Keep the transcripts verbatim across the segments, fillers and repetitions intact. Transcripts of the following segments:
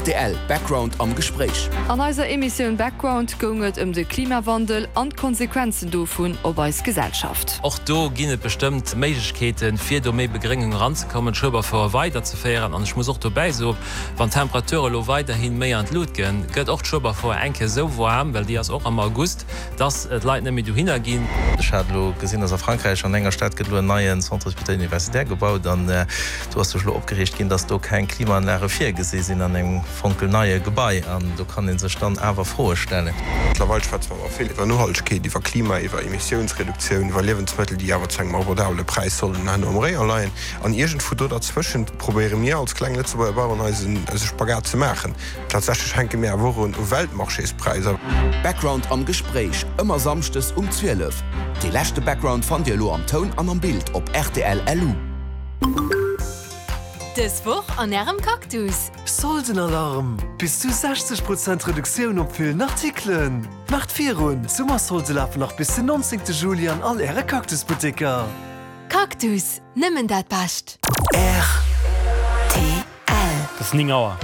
Rtl Background am Gespréich. An eiser Emissioun Background goung et ëm de Klimawandel an d'Konsequenzen dovun op eis Gesellschaft. Och do ginn et bestëmmt Méiglechkeeten, fir do méi Begréngung eranzekommen, d'Schueberfouer weiderzeféieren. An ech muss och dobäi soen, wann d'Temperature lo weiderhi méi an d'Lut ginn, gëtt och d'Schueberfouer eng Kéier sou waarm, well déi ass och am August, dass d'Leit net méi dohinner ginn. Ech hat elo gesinn, dass a Frankräich an enger Stad gëtt elo en neien Centre hospitalier universitaire gebaut an do ass sech elo opgereegt ginn, dass do keng Klimaanlage virgesi sinn an engem fonkelneie Gebai an do kann ee sech dann awer Froe stellen. Mëttlerweil schwätze mer awer vill iwwer Nohaltegkeet, iwwer Klima, iwwer Emissiounsreduktioun, iwwer Liewensmëttel, déi awer zu engem abordabele Präis sollen herno am Réier leien. An iergendwou do derzwëschent probéiere mir als kleng Lëtzebuerger Baueren eisen eise Spagat ze maachen. Tatsächlech hänke mir awer och un u Weltmarchéspräisser. Background am Gespréich, ëmmer samschdes um zwielef. Dee leschte Background fannt Dir elo am Toun an am Bild op rtl lu. Dës Woch an Ärem Cactus. Soldenalarm! Bis zu sechzeg Prozent Reduktioun op villen Artikelen! Maacht virun, d'Summersolde lafen nach bis den nonzéngte Juli an all Äre Cactus-Butteker! Cactus, nëmmen dat Bescht! Rtl. Et ass néng Auer.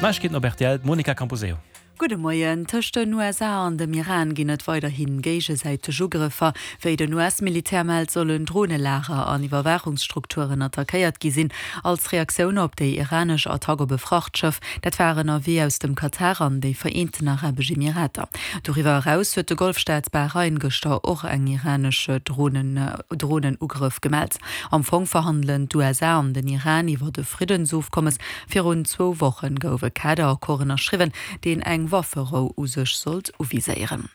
Neiegkeeten op rtl, d'Monica Camposeo. Gudde Moien. Tëscht den U S A an dem Iran ginn et weiderhi géigesäiteg Ugrëffer. Wéi den U S-Militär mellt, sollen Dronelager an Iwwerwaachungsstrukturen attackéiert gi sinn, als Reaktioun op déi iranesch Attack op e Frachtschëff. Dat war ënnerwee aus dem Katar an déi Vereenten Arabesch Emirater. Doriwwer eraus huet de Golfstaat Bahrain gëschter och eng iranesch Dronenugrëff gemellt. Am Fong verhandelen d'U S A an den Iran iwwer e Friddensofkommes. Virun zwou Woche gouf e Kaderaccord ënnerschriwwen, deen eng Wafferou u sech sollt uviséieren.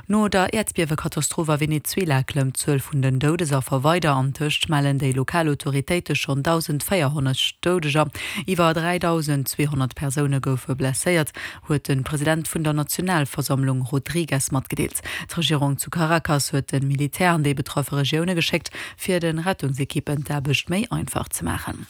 No der Äerdbiewekatastroph a Venezuela klëmmt d'Zuel vun den Doudesaffer weider. Antëscht mellen déi lokal Autoritéite schonn dausendvéierhonnert Doudeger. Iwwer dräidausendzweehonnert Persoune goufe blesséiert, huet de President vun der Nationalversammlung Rodriguez matgedeelt. D'Regierung zu Caracas huet de Militär an déi betraffe Regioune geschéckt, fir de Rettungsekippen d'Aarbecht méi einfach ze maachen.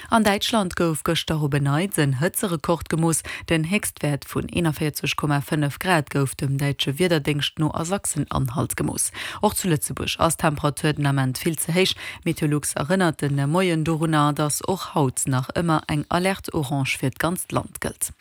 An Däitschland gouf gëschter op en Neits en Hëtzerekord gemooss. Den Héchstwäert vun eenanvéierzeg Komma fënnef Grad gouf dem däitsche Wiederdéngscht no a Sachsen-Anhalt gemooss. Och zu Lëtzebuerg ass d'Temperatur den Ament vill ze héich. Meteolux erënnert de Moien dorunner, datt och haut nach ëmmer eng Alerte orange fir d'ganzt Land gëllt.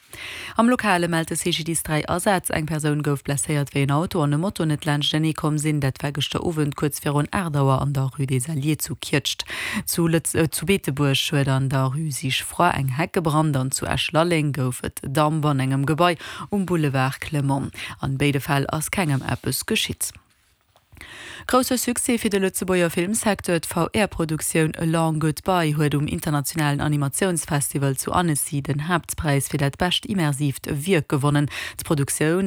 Am Lokale mellt de C G D I S dräi Asätz. Eng Persoun gouf blesséiert, wéi en Auto an e Moto net laanschtenee komm sinn. Dat war gëschter Owend kuerz virun aacht Auer an der Rue des Alliés zu Kietscht. Zu Lëtz zu Beetebuerg huet an der Rue Sigefroid eng Heck gebrannt an zu Esch-Lalleng gouf et Damp an engem Gebai um Boulevard Clement. An béide Fäll ass kengem eppes geschitt. Grousse Succès fir de Lëtzebuerger Filmsecteur, D'V R-Produktioun A Long Goodbye huet um internationalen Animatiounsfestival zu Annecy den Haaptpräis fir dat bescht immersiivt Wierk gewonnen. D'Produktioun